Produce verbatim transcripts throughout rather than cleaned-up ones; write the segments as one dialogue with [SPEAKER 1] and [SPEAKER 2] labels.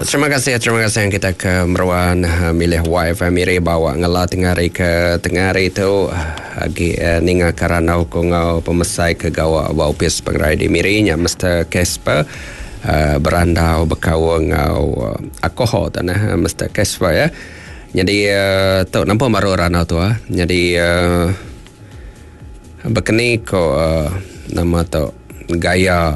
[SPEAKER 1] Terima kasih, terima kasih yang kita ke meruan milih Y F M Miri bawa ngela tengah hari ke tengah hari tu agi ninga karana ku ngau pemesai ke gawa ba opis pengerai di Miri nya Mister Casper uh, berandau bekau ngau uh, alkohol tanah Mister Casper ya. Jadi uh, tu nampak baru ranau tu ah. Jadi uh, bekeni ko uh, nama tu gaya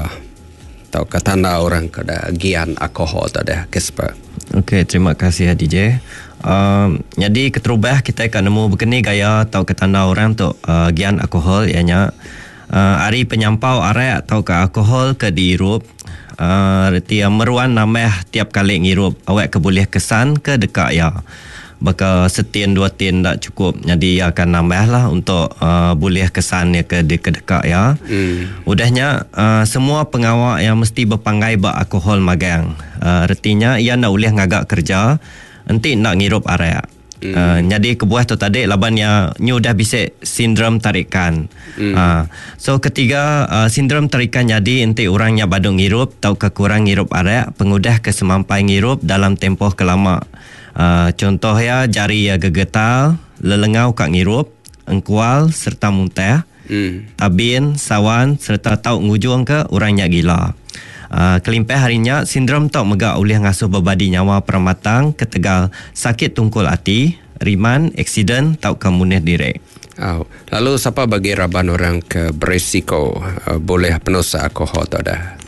[SPEAKER 1] atau tanda orang ke gian alkohol tu dah Casper.
[SPEAKER 2] Okey, terima kasih D J. Um, jadi keterubah kita akan nemu bekeni gaya atau tanda orang tu uh, gian alkohol ianya uh, ari penyampau arak atau ke alkohol ke diirup uh, reti meruan nambah tiap kali ngirup awak ke boleh kesan ke dekat ya. Baka setin dua tin tak cukup, jadi akan nambah lah untuk uh, boleh kesan ya ke dekat ya. Hmm. Udahnya uh, semua pengawak yang mesti berpanggai bak alkohol magang. Uh, retinya ia nak boleh ngagak kerja enti nak ngirup arak. Hmm. Uh, jadi kebuah tu tadi laban ya nyu dah bisik sindrom tarikan. Hmm. Uh, so ketiga uh, sindrom tarikan jadi enti orangnya badung ngirup atau kekurang ngirup arak pengudah kesemampai ngirup dalam tempoh kelama. Uh, contoh ya jari ya gegetal, lelengau kat ngirup, engkual serta muntah, hmm. tabin, sawan serta tau ngujung ke orangnya gila. Uh, kelimpah harinya sindrom tau megak oleh ngasuh berbadi nyawa peramatang ketegal sakit tungkul hati, riman, aksiden tau kemuneh direk.
[SPEAKER 1] Oh, lalu siapa bagi raban orang ke berisiko uh, boleh penusa alkohol tu dah?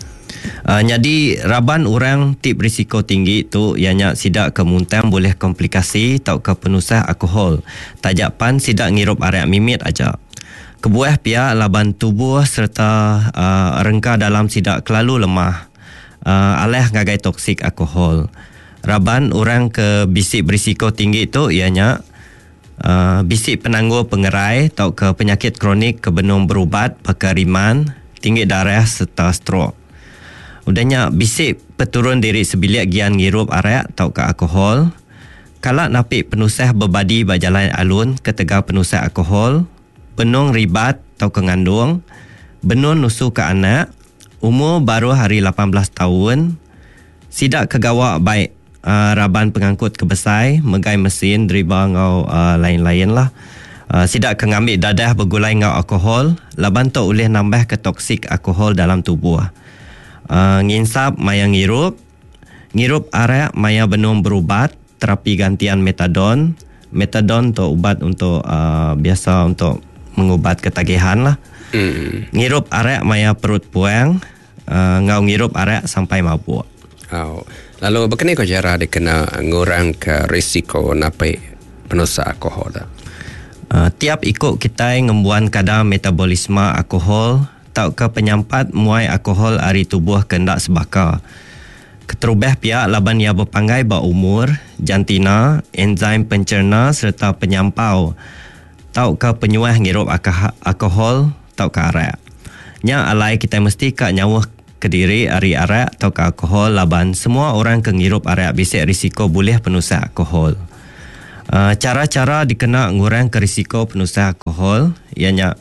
[SPEAKER 2] Uh, jadi raban orang tip risiko tinggi tu ianya sidak ke muntang boleh komplikasi tau ke penusah alkohol. Tajak pan sidak ngirup arak mimit aja. Kebuah pihak laban tubuh serta uh, rengka dalam sidak kelalu lemah. Uh, alih ngagai toksik alkohol. Raban orang ke bisik berisiko tinggi tu ianya uh, bisik penangguh pengerai tau ke penyakit kronik ke benung berubat pakai riman, tinggi darah serta stroke. Udahnya bisik peturun diri sebilik gian ngirup arak atau ke alkohol. Kalak napik penusah berbadi berjalan alun ketegal penusah alkohol, benung ribat atau ke ngandung, benung nusu ke anak, umur baru hari lapan belas tahun, sidak kegawak baik uh, raban pengangkut kebesai, megai mesin, deriba ngau uh, lain-lain lah. Uh, sidak ke ngambil dadah bergulai ngau alkohol, laban tu boleh nambah ke toksik alkohol dalam tubuh. Uh, nginsap maya ngirup, ngirup arak maya benung berubat, terapi gantian metadon. Metadon tu ubat untuk uh, biasa untuk mengubat ketagihan lah. Mm. Ngirup arak maya perut puang, uh, ngau ngirup arak sampai mabuk.
[SPEAKER 1] Oh. Lalu berkena ko cara dikena ngurang ke risiko napai penusa alkohol dah?
[SPEAKER 2] Uh, tiap ikut kita ngembuan kadar metabolisme alkohol tau ke penyampat muai alkohol ari tubuh kendak sebaka. Keterubah pihak laban ia berpanggai ba umur, jantina, enzim pencerna serta penyampau tau ke penyuah ngirup alkohol tau ke arak. Nya alai kita mesti ka nyawah kediri ari arak tau ke alkohol laban semua orang ke ngirup arak bisik risiko boleh penusah alkohol. Uh, cara-cara dikena ngurang ke risiko penusah alkohol ianya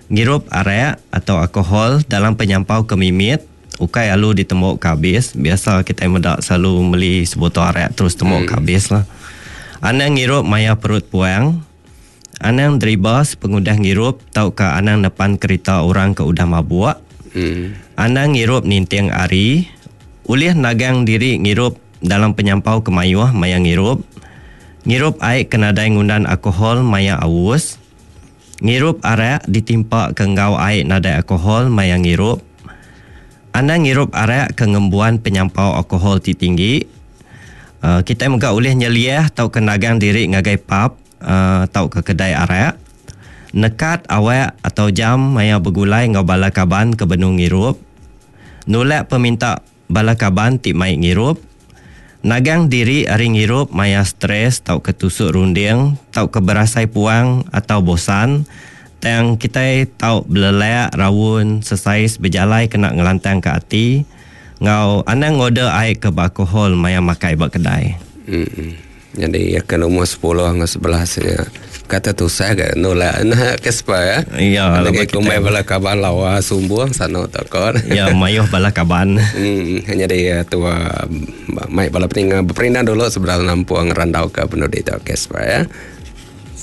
[SPEAKER 2] ngirup arak atau alkohol dalam penyampau kemimit ukai alu ditemuk kabis. Biasa kita medak selalu beli sebotol arak terus temuk hmm. kabis lah. Anang ngirup maya perut puang, anang deriba sepengudah ngirup tau ke anang depan kereta orang ke udah mabuk. Hmm. Anang ngirup ninting ari, ulih nagang diri ngirup dalam penyampau kemayuh maya ngirup. Ngirup air kenadai ngundan alkohol maya awus. Ngirup arak ditimpa ke ngau air nadai alkohol maya ngirup. Anang ngirup arak ke ngembuan penyampau alkohol ti tinggi. Uh, kita mega ulih nyeliah tau ke nagang diri ngagai pub uh, tau ke kedai arak. Nekat awak atau jam maya bergulai ngau bala kaban ke benung ngirup. Nulak peminta bala kaban ti mai ngirup. Nagang diri ari ngirup maya stres tau ke tusuk runding, tau ke berasai puang atau bosan. Tang kita tau belelak, rawun, sesais berjalai kena ngelantang ke hati. Ngau anang ngorder air ke alkohol maya makai ba kedai.
[SPEAKER 1] Hmm. Jadi akan umur sepuluh dengan sebelas ya. Kata tusah ke nulak nah Casper ya.
[SPEAKER 2] Ya,
[SPEAKER 1] lagi kumai bala kaban lawa sumbung sano takon.
[SPEAKER 2] Ya, mayuh bala kaban.
[SPEAKER 1] Hmm, hanya dia tua mai bala peninga berperindang dulu sebelum nampuang randau ke penudi tu Casper ya.